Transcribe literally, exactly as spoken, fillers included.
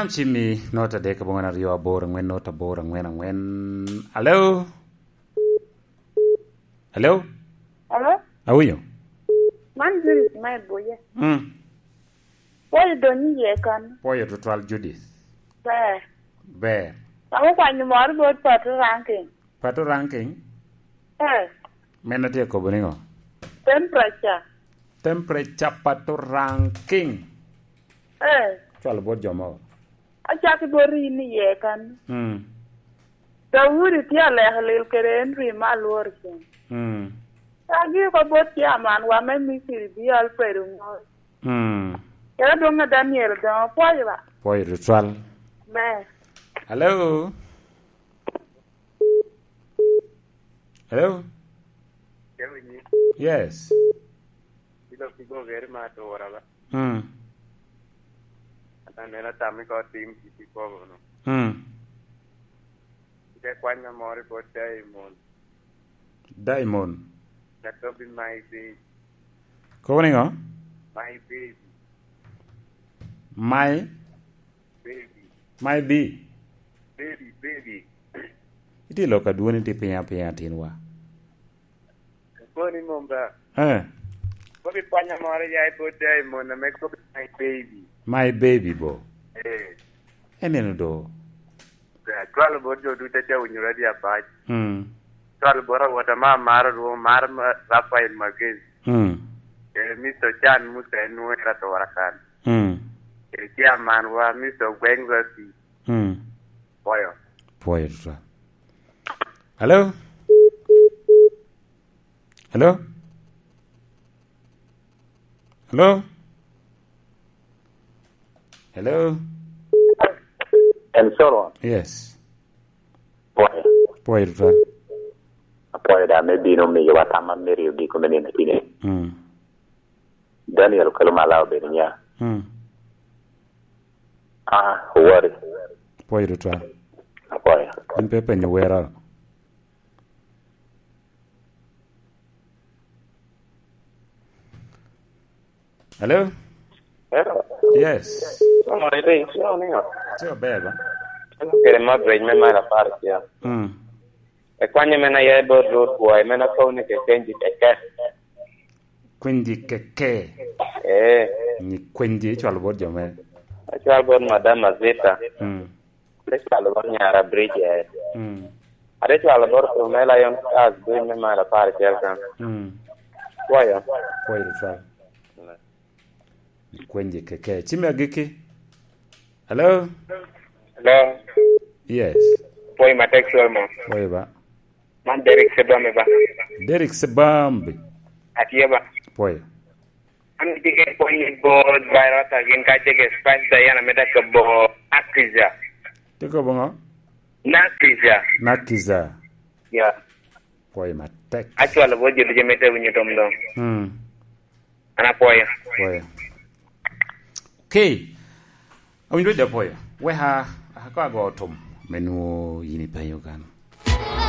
Am cimmi, nota adek aboŋwen aryo aboro aŋwen, nota aboro aŋwen aŋwen. Alo? Alo? Alo? Awinyo? Man Judith ma i Buye. Mm. Pwoyo doni iye kan. Pwoyo tutwal, Judith. Ber. Ber. Amo kwanyo moro bot Pato Ranking. Pato Ranking? Eh. Men atye kobo niŋo? Temperature. Temperature Pato Ranking. Eh. Cwalo bot jo mogo. Acakki bot in iye kan. Mm. Daudi tye aleko lil kede Henry me alworo cen. Mm. Agi oko bot chairman wa me Misiri bi Alfred Ongol. Mm. Kede adwoŋ a Daniel doŋ opwoyo ba. Pwoyo tutwal. Me. Hello? Hello? Kewinyi. Yes. Ilo kigo geri ma atura ba. Mm. Ata nena tami ko tim kiti kobo no. Mm. Ite kwanya mori bot Diamond. Diamond. That will be my baby. Kobo niŋo? My baby. My? Baby. My B? Baby, baby. Iti lok adwoni ti pinya pinya tinwa. Koni mom ba. Eh. Kobi kwanya moro ya i bot Diamond ame kobi my baby. My baby bo. Eh. Eneno do. Cwalo bot jo ducu aca winyo radio apac. Mm. Cwalo bot awot ama amaro rwo, mar ma-, Rafael Magezi. Mm. Eh, Mister Chan Musa en nwoŋo era to warakan. Mm. Eh, chairman wa, Mister Gweng Rasi. Mm. Pwoyo. Pwoyo tutwal. Hello? Hello? Hello? Hello? En Solomon. Yes. Pwoyo. Pwoyo tutwal. Apwoyo da me bino miyowa tam ma merio giko me nino tine. Mm. Daniel okelo mala obedo nya. Mm. Ah, owari. Pwoyo tutwal. Apwoyo. In pe penyo wera. Hello? Hello. Yes. Oh, ite, ito niŋo? Tye maber ba? An kede Margaret me mara apar acel. Mm. Ekwanye men aye bot Ruth Bwoy, men akobo ni kekenji keke. Kwenji keke. Eh. Ni kwenji icwalo bot jo me? Acwalo bot Madam Azita. Mm. Ate cwalo bot nyara Bridget. Mm. Ate cwalo bot Pamela Lion Stars, Bridge me mara apar acel kan. Mm. Pwoyo. Pwoyo tutwal. Kwenji keke. Cime agikki. Hello? Hello? Yes. Pwoyo matek, Solomon. Pwoyo ba. Man Derek Sebambi ba. Derek Sebambi. Atye ba. Pwoyo. An tye ke pwony ni bot virus a gin ka ce ke Spice Diana me dako bo Nakiza. Tye kobo ŋo? Nakiza. Nakiza. Ya. Pwoyo matek. Acwalo bot jo ducu me te winyo tom doŋ. Mm. An apwoyo. Pwoyo. Okay. Awinjo de pwoyo. Weka, ako ago tom me nwo yin ipenyo kan.